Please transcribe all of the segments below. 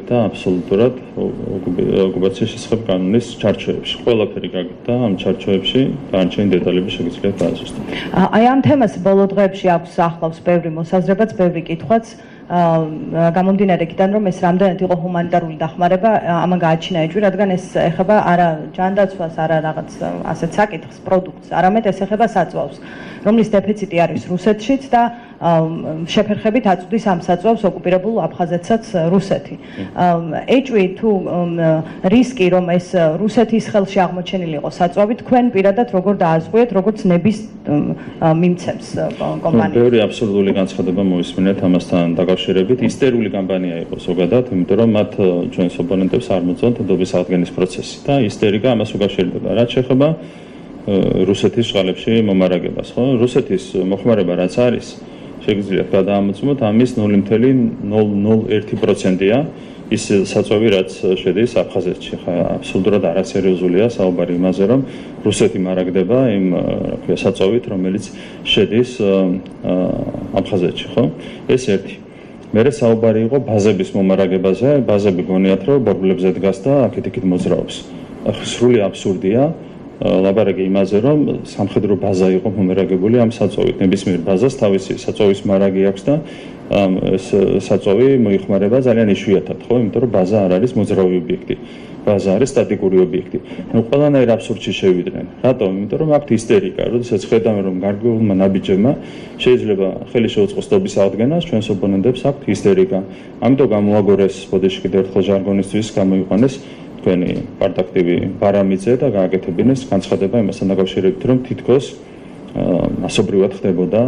გაგებდა აბსოლუტურად ოკუპაციის შესახებ კანონის ჩარჩოებში. ყველაფერი გაგებდა ამ ჩარჩოებში, დანარჩენი დეტალები შეგიძლიათ დააზუსტოთ. აი ამ თემას ბოლო დღეებში აქვს ახლავს ბევრი მოსაზრებაც, ბევრი კითხვაც. გამომდინარე იქიდან, რომ ეს რამდენად იყო ჰუმანიტარული დახმარება, ამან გააჩინა ეჭვი, რადგან ეს ეხება არა ჯანდაცვას, არა რაღაც ასეთ საკითხს, პროდუქტს, არამედ ეს ეხება საწვავს, რომლის დეფიციტი არის რუსეთშიც და შეფერხებით აწვდის ამ საწვავს ოკუპირებულ აფხაზეთსაც რუსეთი. ეჭვი თუ რისკი, რომ ეს რუსეთის ხელში აღმოჩენილი იყო საწვავი, თქვენ პირადად როგორ დააზღვიეთ, როგორც ნების მიმცემს კომპანია? ბევრი აბსურდული განცხადება მოისმინეთ ამასთან დაკავშირებით. ისტერიული კამპანია იყო ზოგადად, იმიტომ რომ მათ ჩვენს ოპონენტებს არ მოწონთ ნდობის აღდგენის პროცესი და ისტერიკა ამას უკავშირდება. რაც შეეხება რუსეთის წყალებში მომარაგებას, ხო? რუსეთის მოხმარება რაც არის, შეგიძლიათ გადაამოწმოთ, ამის 0.001%-ია ის საწვავი, რაც შედის აფხაზეთში. ხა აბსოლუტურად არასერიოზულია საუბარი იმაზე, რომ რუსეთი მარაგდება იმ საწვავით, რომელიც შედის აფხაზეთში, ხო? ეს ერთი. მერე საუბარი იყო ბაზების მომარაგებაზე, ბაზები გონიათ, რომ ბორბლებზე დგას და აქეთ-იქით მოძრაობს. სრული აბსურდია. ლაბარაკი იმაზე, რომ სამხედრო ბაზა იყო მომარაგებული ამ საწვავით. ნებისმიერ ბაზას თავისი საწვავის მარაგი აქვს და ეს საწვავი მოიხმარება ძალიან იშვიათად, ხო? იმიტომ რომ ბაზა არ არის მოძრავი ობიექტი. ბაზა არის სტატიკური ობიექტი. ნუ ყველანაირ აბსურდში შევიდნენ. რატომ? იმიტომ რომ აქვთ ისტერიკა, როდესაც ხედავენ, რომ გარკვეულმა ნაბიჯებმა შეიძლება ხელი შეუწყოს ნდობის აღდგენას, ჩვენს ოპონენტებს აქვთ ისტერიკა. ამიტომ გამოაგორეს ბოდიში კიდევ ერთხელ ჟარგონისთვის გამოიყვანეს თქვენი პარტაქტივი ბარამიძე და გააკეთებინეს განცხადება იმასთან დაკავშირებით, რომ თითქოს მასობრივად ხდებოდა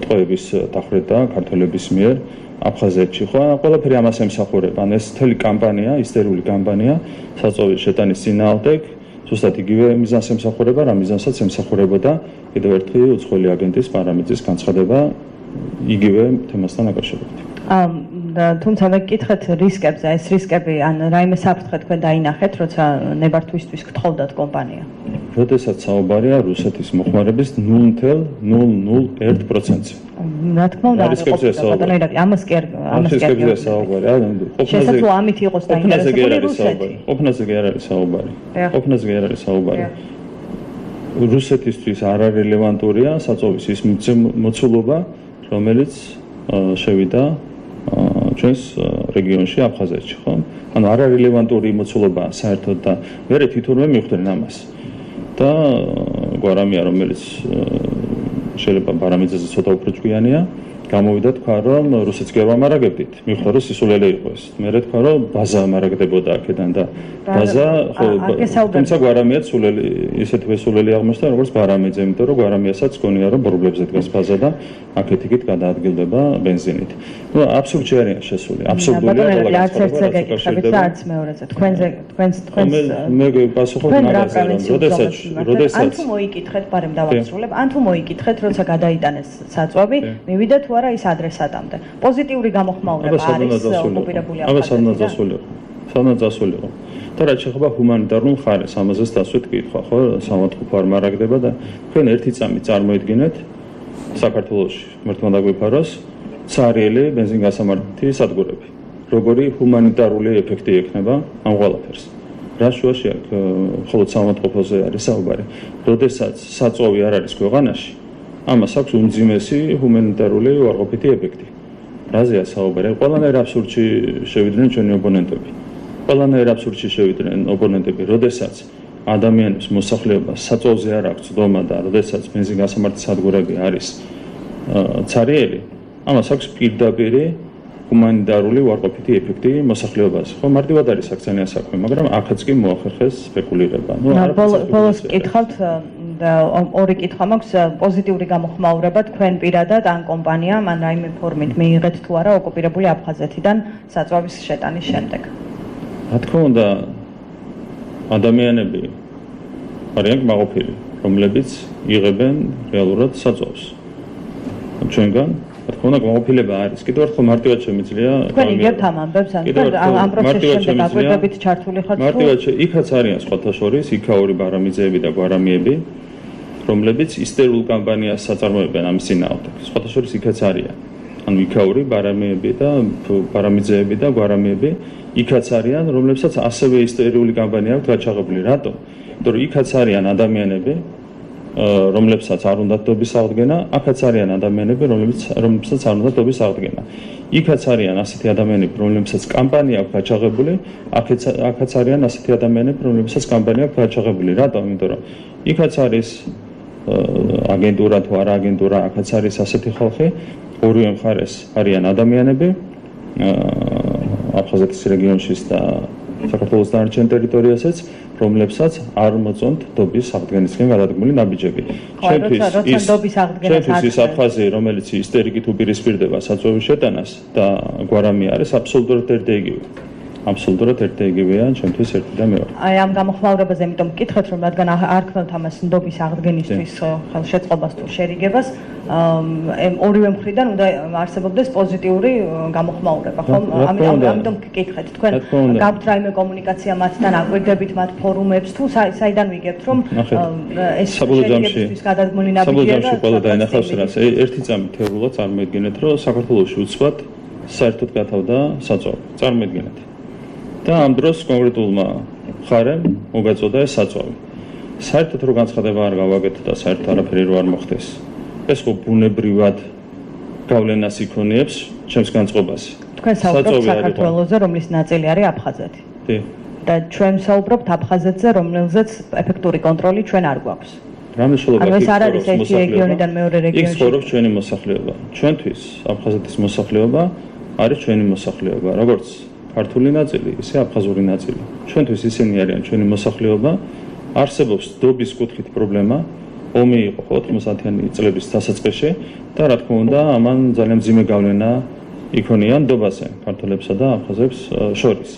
ტყვეების დახვრეტა ქართველების მიერ აფხაზეთში. ხო, ყველაფერი ამას ემსახურება. ან ეს მთელი კამპანია, ისტერიული კამპანია საწვავის შეტანის წინააღმდეგ, ზუსტად იგივე მიზანს ემსახურება, რა მიზანსაც ემსახურებოდა კიდევ ერთი უცხოელი აგენტის ბარამიძის განცხადება იგივე თემასთან დაკავშირებით. თუმცა მეკითხეთ რისკებზე, ეს რისკები ან რაიმე საფრთხე თქვენ დაინახეთ, როცა ნებართვისთვის გთხოვდათ კომპანია? როდესაც საუბარია რუსეთის მოხმარების 0.001%-ზე. რა თქმა უნდა, ამას კი საუბარი. შესაძლოა ამით იყოს დაინტერესებული რუსეთი. ყოფნაზე კი არ არის საუბარი. ყოფნაზე კი არ არის საუბარი. რუსეთისთვის არარელევანტურია საწვავის ის მოცულობა, რომელიც შევიდა ჩვენს რეგიონში აფხაზეთში, ხო? ანუ არარელევანტური მოცულობა საერთოდ და მერე თვითონვე მიხვდნენ ამას. და გვარამია, რომელიც შეიძლება ბარამიძეზე ცოტა უფრო ჭკვიანია, გამოვიდა თქვა, რომ რუსეთს კი ვამარაგებდით, მიხვდა რომ სისულელე იყო ეს. მერე თქვა, რომ ბაზა მარაგდებოდა აქედან და ბაზა ხო, თუმცა გვარამია სულელი, ისეთვე სულელი აღმოჩნდა, როგორც ბარამიძე, იმიტომ რომ გვარამიასაც გონია, რომ ბორბლებზე დგას ბაზა და აქეთ-იქით გადაადგილდება ბენზინით. ნუ აბსურდში არიან შესული, აბსურდულია ყველა განცხადება, არც მეორეზე. თქვენს მე პასუხობ მაგაზე, რომ როდესაც ან თუ მოიკითხეთ, ბარემ დავასრულებ, ან თუ მოიკითხეთ, როცა გადაიტანეს საწვავი, მივიდა თუ არა ის ადრესატამდე. პოზიტიური გამოხმაურება არის ოკუპირებული აფხაზეთი. სანამ დასულიყო. და რაც შეეხება ჰუმანიტარულ მხარეს, ამაზეც დასვით კითხვა, ხო, სამოთხუფო არ მარაგდება და თქვენ ერთი წამი წარმოიდგინეთ საქართველოში, მართლა დაგვიფაროს, ცარიელი ბენზინგასამართი სადგურები. როგორი ჰუმანიტარული ეფექტი ექნება ამ ყველაფერს. რა შუაში აქ მხოლოდ სამოთხუფოზე არის საუბარი. როდესაც საწვავი არ არის ქვეყანაში, ამას აქვს უმძიმესი ჰუმანიტარული უარყოფითი ეფექტი. რაზეა საუბარი? ყველანაირ აბსურდში შევიდნენ ჩვენი ოპონენტები. ყველანაირ აბსურდში შევიდნენ ოპონენტები, როდესაც ადამიანებს მოსახლეობას საწვავზე არ აქვს ცდომა და როდესაც ბენზინგასამართი სადგურები არის ცარიელი, ამას აქვს პირდაპირი ჰუმანიტარული უარყოფითი ეფექტი მოსახლეობაზე. ხო, მარტივად არის აქცენია საქმე, მაგრამ აქაც კი მოახერხეს სპეკულირება. ბოლოს კითხავთ და ორი კითხვა მაქვს, პოზიტიური გამოხმაურება თქვენ პირადად ან კომპანიამ ან რაიმე ფორმით მიიღეთ თუ არა ოკუპირებული აფხაზეთიდან საწვავის შეტანის შემდეგ? რა თქმა უნდა, ადამიანები არიან კმაყოფილი, რომლებიც იღებენ რეალურად საწვავს. ჩვენგან რა თქმა უნდა, კმაყოფილება არის. კიდევ ერთხელ მარტივად შემიძლია თქვენ იგებთ ამ ამბებს, ან ამ პროცესში შემდეგ აკვირდებით ჩართული ხართ? მარტივად იქაც არიან სხვათა შორის იქაური ბარამიძეები და გვარამიები, რომლებიც ისტერულ კამპანიას საწარმოებენ ამის წინააღმდეგ. სხვათა შორის იქაც არიან. ანუ იქაური ბარამიები და ბარამიძეები და გვარამიები იქაც არიან, რომლებსაც ასევე ისტორიული კამპანია აქვს გაჩაღებული. რატომ? იმიტომ რომ იქაც არიან ადამიანები, რომლებსაც არ უნდათ დობის აღდგენა, აქაც არიან ადამიანები, რომლებსაც არ უნდათ დობის აღდგენა. იქაც არიან ასეთი ადამიანები, რომლებსაც კამპანია აქვს გაჩაღებული, აქაც არიან ასეთი ადამიანები, რომლებსაც კამპანია აქვს გაჩაღებული. რატომ? იმიტომ რომ იქაც არის აგენტურა თუ არა აგენტურა, აქაც არის ასეთი ხალხი, ორივე მხარეს არიან ადამიანები, აფხაზეთის რეგიონშიც და საქართველოს დანარჩენ ტერიტორიასაც, რომლებსაც არ მოწონთ დობის აღდგენისკენ გადადგმული ნაბიჯები. Ჩვენთვის ის აფხაზი, რომელიც ისტერიკით უპირისპირდება საწვევის შეტანას და გვარამი არის აბსოლუტურად ერთეიგივე. Absolutურად ერთეიგივეა ჩვენთვის ერთი და მეორე. აი ამ გამოხმაურებაზე იმიტომ ვკითხეთ, რომ რადგან არ ქნათ ამას ნდობის აღდგენისთვის ხელშეწყობას თუ შერიგებას, ორივე მხრიდან უნდა არსებობდეს პოზიტიური გამოხმაურება, ხომ? ამიტომ ვკითხეთ, თქვენ გაქვთ რაიმე კომუნიკაცია მათთან, აკვირდებით მათ ფორუმებს თუ საიდან ვიგებთ, რომ ეს შერიგებისთვის გადადგმული ნაბიჯია და საბოლოო ყველა დაინახავს რას. ერთი წამი თეორიულად წარმოედგინეთ, რომ საქართველოში უცბად საერთოდ გათავდა საწვავი. წარმოედგინეთ. და ამ დროს კონკრეტულმა მხარემ მოგაწოდა ეს საწვავი. საერთოდ რო განცხადება არ გავაკეთო და საერთოდ არაფერი რო არ მოხდეს. ეს ხო ბუნებრივად გავლენას იქონიებს ჩემს განწყობას. თქვენ საუბრობთ საქართველოზე, რომლის ნაწილი არის აფხაზეთი. კი. და ჩვენ საუბრობთ აფხაზეთზე, რომელზეც ეფექტური კონტროლი ჩვენ არ გვაქვს. რა მნიშვნელობა აქვს? ეს არ არის ერთი რეგიონიდან მეორე რეგიონში. იქ ცხოვრობს ჩვენი მოსახლეობა. ჩვენთვის აფხაზეთის მოსახლეობა არის ჩვენი მოსახლეობა, როგორც ქართული ნაწილი, ისე აფხაზური ნაწილი. ჩვენთვის ისინი არიან ჩვენი მოსახლეობა. არსებობს დობის კუთხით პრობლემა. ომი იყო 90-იანი წლების დასაწყისში და რა თქმა უნდა, ამან ძალიან მძიმე გავლენა იქონია ნდობაზე ქართველებსა და აფხაზებს შორის.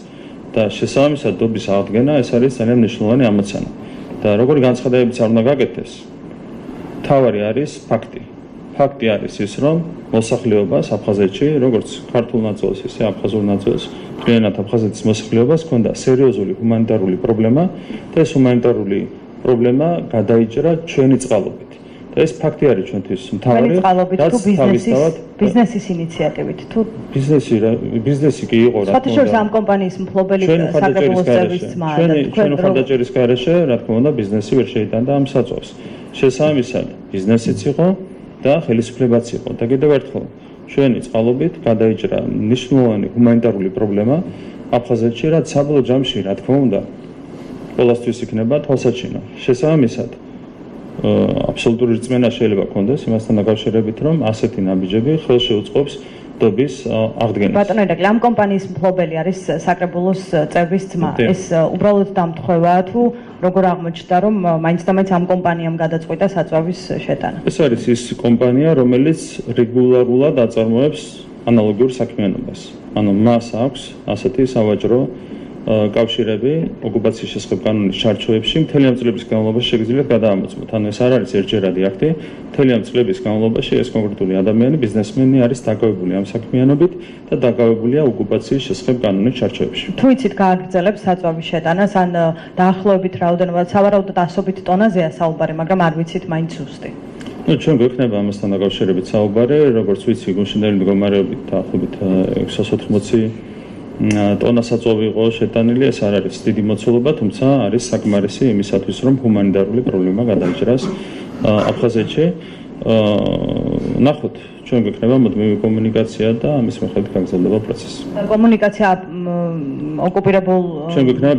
და შესაბამისად დობის აღდგენა ეს არის ძალიან მნიშვნელოვანი ამოცანა. და როგორი განცხადებებიც არ უნდა გაკეთდეს, თავარი არის ფაქტი. ფაქტი არის ის, რომ მოსახლეობას აფხაზეთში, როგორც ქართულ ნაწილს, ისე აფხაზურ ნაწილს, მთლიანად აფხაზეთის მოსახლეობას ჰქონდა სერიოზული ჰუმანიტარული პრობლემა და ეს ჰუმანიტარული პრობლემა გადაიჭრა ჩვენი წყალობით. და ეს ფაქტი არის ჩვენთვის მთავარი. თუ ბიზნესის ინიციატივით, თუ ბიზნესი კი იყო რა თქმა უნდა. საერთოდ ამ კომპანიის მფლობელი საკრებულოს წევრის ძმა და თქვენ ხარდაჭერის გარეშე, რა თქმა უნდა, ბიზნესი ვერ შეიტანდა ამ საწვავს. შესაბამისად, ბიზნესიც იყო და ხელისუფლებაც იყო. და კიდევ ერთხელ, ჩვენი წყალობით გადაიჭრა მნიშვნელოვანი ჰუმანიტარული პრობლემა აფხაზეთში, რაც საბოლოო ჯამში, რა თქმა უნდა, ყველასთვის იქნება თვალსაჩინო. შესაბამისად, აბსოლუტური რწმენა შეიძლება გქონდეს იმასთან დაკავშირებით, რომ ასეთი ნაბიჯები ხელშეუწყობს დობის აღდგენას. ბატონო ირაკლი, ამ კომპანიის მფლობელი არის საკრებულოს წევრის ძმა. ეს უბრალოდ დამთხევაა თუ როგორ აღმოჩნდა, რომ მაინც და მაინც ამ კომპანიამ გადაწყვიტა საწვავის შეტანა? ეს არის ის კომპანია, რომელიც რეგულარულად აწარმოებს ანალოგიურ საქმიანობას. ანუ მას აქვს ასეთი სავაჭრო კავშირები ოკუპაციის შესახებ კანონის ჩარჩოებში მთელი ამ წლების განმავლობაში შეგიძლიათ გადაამოწმოთ. ანუ ეს არ არის ერთჯერადი აქტი. მთელი ამ წლების განმავლობაში ეს კონკრეტული ადამიანი, ბიზნესმენი არის დაკავებული ამ საქმიანობით და დაკავებულია ოკუპაციის შესახებ კანონის ჩარჩოებში. თუ იცით გააგრძელებს საწვავის შეტანას, ან დაახლოებით რაოდენობა, სავარაუდოდ ასობით ტონაზეა საუბარი, მაგრამ არ ვიცით მაინც ზუსტი. ჩვენ გვექნება ამასთან დაკავშირებით საუბარი, როგორც ვიცი, გუშინდელი მდგომარეობით დაახლოებით 680 ტონა საწვავი იყო შეტანილი, ეს არ არის დიდი მოცულობა, თუმცა არის საკმარისი იმისათვის, რომ ჰუმანიტარული პრობლემა გადაიჭრას აფხაზეთში. ნახოთ, ჩვენ გვექნება მუდმივი კომუნიკაცია და ამის მიხედვით გაგრძელდება პროცესი. კომუნიკაცია ოკუპირებულ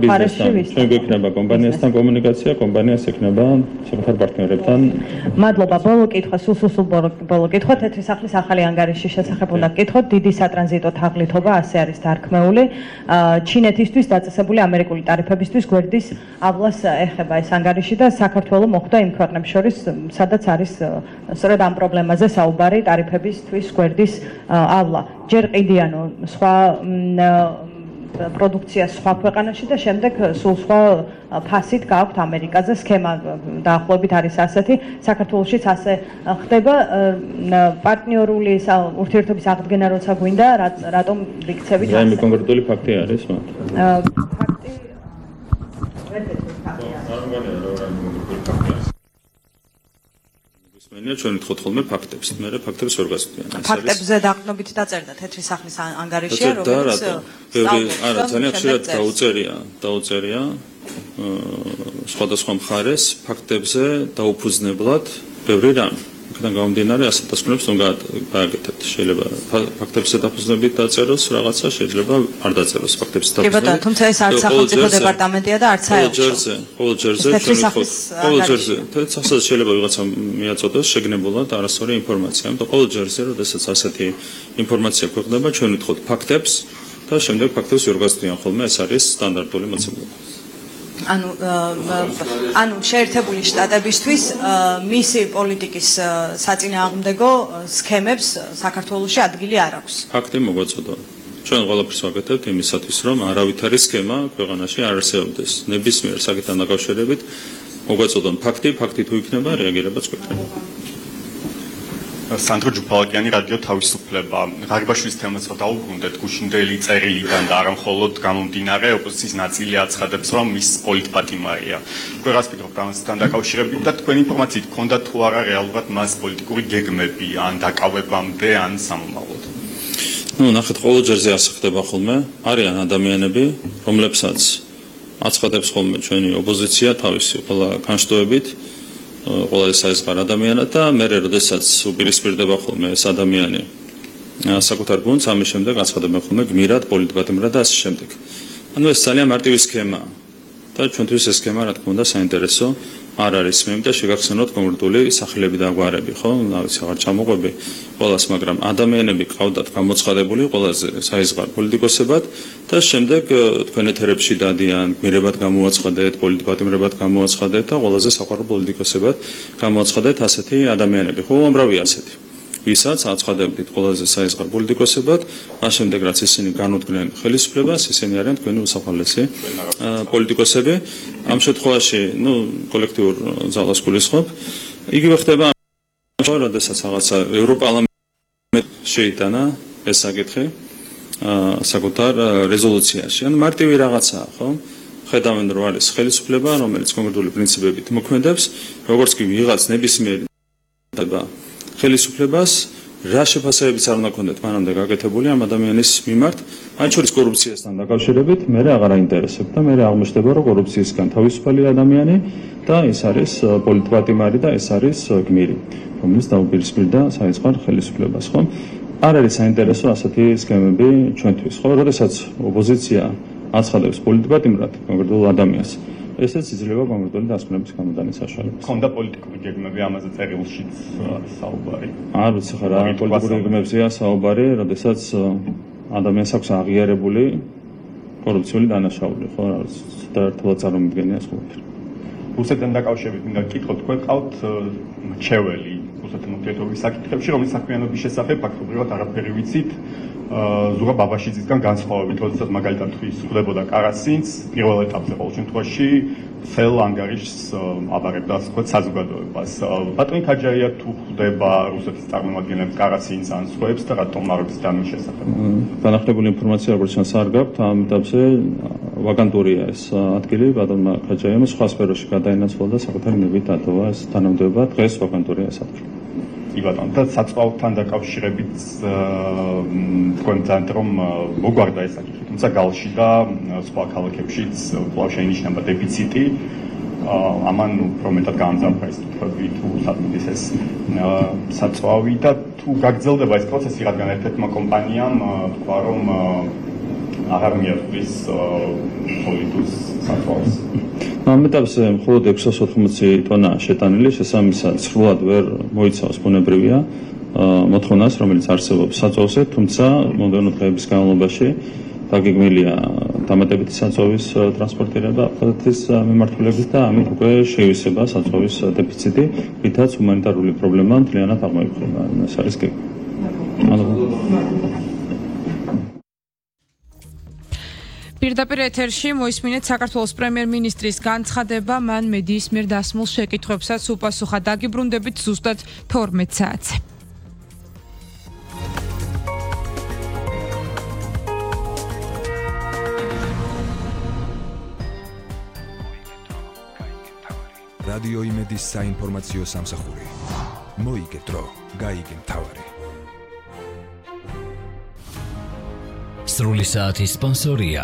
ბიზნესთან, ჩვენ გვექნება კომპანიასთან კომუნიკაცია, კომპანიას ექნება საკუთარ პარტნიორებთან. მადლობა, ბოლო კითხვა, სულ ბოლო კითხვა, თეთრი სახლის ახალი ანგარიშის შესახებ უნდა გკითხოთ. დიდი სატრანზიტო თაღლითობა ასე არის დარქმეული. ჩინეთისთვის დაწესებული ამერიკული ტარიფებისთვის გვერდის ავლას ეხება ეს ანგარიში და საქართველოს მოხვდა იმ ქვეყნებს შორის, სადაც არის სწორედ ამ პრობლემაზე საუბარი, ტარიფებისთვის გვერდის ავლა. ჯერ ყიდიანო სხვა პროდუქცია სხვა ქვეყანაში და შემდეგ სულ სხვა ფასით გააქვთ ამერიკაზე. სქემა დაახლოებით არის ასეთი. საქართველოშიც ასე ხდება. პარტნიორული ურთიერთობის აღდგენა როცა გვინდა, რატომ ვიქცევით ასე? რაიმე კონკრეტული ფაქტი არის მათ? ფაქტი მენია ჩვენ ვთხოვთ ხოლმე ფაქტებს. მე ფაქტებს ვერ გასწვიან. ფაქტებზე დაყრდნობით დაწერდა თეთრი სახლის ანგარიშია, რომელიც არა ძალიან ხშირად დაუწერია სხვადასხვა მხარეს ფაქტებზე დაუფუძნებლად ბევრი რამ. იქიდან გამომდინარე ასეთ დასკვნებს უნდა გააკეთებთ. შეიძლება ფაქტებზე დაფუძნებით დაწეროს რაღაცა, შეიძლება არ დაწეროს ფაქტებზე დაფუძნებით. კი ბატონო, თუმცა ეს არც სახელმწიფო დეპარტამენტია და არც საელჩო. ყოველ ჯერზე თეთრ შეიძლება ვიღაცა მიაწოდოს შეგნებულად არასწორი ინფორმაცია. ამიტომ ყოველ ჯერზე, როდესაც ასეთი ინფორმაცია ქვეყნდება, ჩვენ ვთხოვთ ფაქტებს და შემდეგ ფაქტებს ვერ გასწრიან ხოლმე, ეს არის სტანდარტული მოცემულობა. ანუ შეერთებული შტატებისთვის მისი პოლიტიკის საწინააღმდეგო სქემებს საქართველოში ადგილი არ აქვს. ფაქტი მოგვაწოდო. ჩვენ ყველაფერს ვაკეთებთ იმისათვის, რომ არავითარი სქემა ქვეყანაში არ არსებობდეს. ნებისმიერ საკითხთან დაკავშირებით მოგვაწოდონ ფაქტი თუ იქნება, რეაგირებაც გვექნება. სანდრო ჯუფალაკიანი რადიო თავისუფლება. ღარიბაშვილის თემას რო დაუბრუნდეთ გუშინდელი წერილიდან და არა მხოლოდ გამომდინარე ოპოზიციის ნაწილი აცხადებს, რომ ის პოლიტპატიმარია. ყველას ვფიქრობ ამასთან დაკავშირებით და თქვენი ინფორმაციით გქონდა თუ არა რეალურად მას პოლიტიკური გეგმები ან დაკავებამდე ან სამომავლოდ. ნახეთ, ყოველ ჯერზე ასე ხდება ხოლმე. არიან ადამიანები, რომლებსაც აცხადებს ხოლმე ჩვენი ოპოზიცია თავისი ყველა განშტოებით. ყველა საიზღარ ადამიანად და მე როდესაც უპირისპირდება ხოლმე ეს ადამიანი საკუთარ გუნდს, ამის შემდეგ აცხადებენ ხოლმე გმირად, პოლიტპატიმრად და ასე შემდეგ. ანუ ეს ძალიან მარტივი სქემაა და ჩვენთვის ეს სქემა რა თქმა უნდა საინტერესო არ არის. მე მინდა შეგახსენოთ კონკრეტული სახელები და გვარები, ხო? ნავიც აღარ ჩამოყვები ყველას, მაგრამ ადამიანები ყავდათ გამოცხადებული ყველაზე საიზღარ პოლიტიკოსებად და შემდეგ თქვენ ეთერებში დადიან, გმირებად გამოაცხადეთ, პოლიტპატიმრებად გამოაცხადეთ და ყველაზე საყვარელ პოლიტიკოსებად გამოაცხადეთ ასეთი ადამიანები. ხო, უამრავი ასეთი. ვისაც აცხადებდით ყველაზე საიზღარ პოლიტიკოსებად, მას შემდეგ რაც ისინი განუდგნენ ხელისუფლებას, ისინი არიან თქვენი უსახალესი პოლიტიკოსები. ამ შემთხვევაში, კოლექტიურ ძალას გულისხმობ. იგივე ხდება, როდესაც რაღაცა ევროპარლამენტი შეიტანა ეს საკითხი საკუთარ რეზოლუციაში. ანუ მარტივი რაღაცაა, ხო? ხედავენ, რომ არის ხელისუფლება, რომელიც კონკრეტული პრინციპებით მოქმედებს, როგორც კი ვიღაც ნებისმიერი ხელისუფლებას რა შეფასებებიც არ უნდა ქონდეთ მანამდე გაკეთებული ამ ადამიანის მიმართ, მათ შორის კორუფციასთან დაკავშირებით, მე აღარ აინტერესებთ და მე აღმოჩნდება, რომ კორუფციისგან თავისუფალი ადამიანი და ეს არის პოლიტპატიმარი და ეს არის გმირი, რომელიც დაუპირისპირდა საიზღარ ხელისუფლებას, ხო? არ არის საინტერესო ასეთი სქემები ჩვენთვის, ხო? როდესაც ოპოზიცია აცხადებს პოლიტპატიმრად კონკრეტულ ადამიანს, ესეც იძლევა კონკრეტული დასკვნების გამოდანის საშუალებას. ხონდა პოლიტიკური გეგმები ამაზე წერილშიც საუბარი. არ ვიცი ხარ, რა პოლიტიკური გეგმებზეა საუბარი, როდესაც ადამიანს აქვს აღიარებული კორუფციული დანაშაული, ხო? და ერთად წარმომიდგენია ეს ყველაფერი. რუსეთთან დაკავშირებით მინდა გკითხოთ, თქვენ ყავთ მრჩეველი რუსეთის ურთიერთობის საკითხებში, რომლის საქმიანობის შესახებ ფაქტობრივად არაფერი ვიცით. ზურაბ აბაშიძისგან განსხვავებით, როდესაც მაგალითად ხდებოდა კარასინს, პირველ ეტაპზე ყოველ შემთხვევაში ცელ ანგარიშს აბარებდა ასე ვთქვათ საზოგადოებას. ბატონი ქაჯაია თუ ხდება რუსეთის წარმომადგენლებს კარასინს ან სხვებს და რატომ არ ვიცით ამის შესახებ? განახლებული ინფორმაცია როგორც ჩანს არ გაქვთ, ამ ეტაპზე ვაკანტურია ეს ადგილი, ბატონმა ქაჯაიამ სხვა სფეროში გადაინაცვლა და საკუთარი ნებით დატოვა ეს თანამდებობა, დღეს ვაკანტურია ეს ადგილი. კი ბატონო, და საწვავთან დაკავშირებით თქვენ ძანთ რომ მოგვარდა ეს საკითხი, თუმცა გალში და სხვა ქალაქებშიც კვლავ შეინიშნება დეფიციტი. ამან უფრო მეტად გაამძაფრა ეს კითხვები თუ სათქმის ეს საწვავი და თუ გაგრძელდება ეს პროცესი, რადგან ერთ-ერთმა კომპანიამ თქვა რომ აღარ მიაღწევს პოლიტიკოს საწვავს. ამ ეტაპზე მხოლოდ 680 ტონა შეტანილი, შესაბამისად სრულად ვერ მოიცავს ბუნებრივია მოთხოვნას, რომელიც არსებობს საწვავზე, თუმცა მომდევნო დღეების განმავლობაში დაგეგმილია დამატებითი საწვავის ტრანსპორტირება აფხაზეთის მიმართულებით და ამით უკვე შეივსება საწვავის დეფიციტი, რითაც ჰუმანიტარული პრობლემა მთლიანად აღმოიფხვრება. ეს არის გეგმა. პირდაპირ ეთერში მოისმინეთ საქართველოს პრემიერ-მინისტრის განცხადება, მან მედიის მიერ დასმულ შეკითხვებსაც უპასუხა. დაგიბრუნდებით ზუსტად 12 საათზე. რადიო იმედის საინფორმაციო სამსახური. მოიგე დრო, გაიგე მთავარი. სრული საათის სპონსორია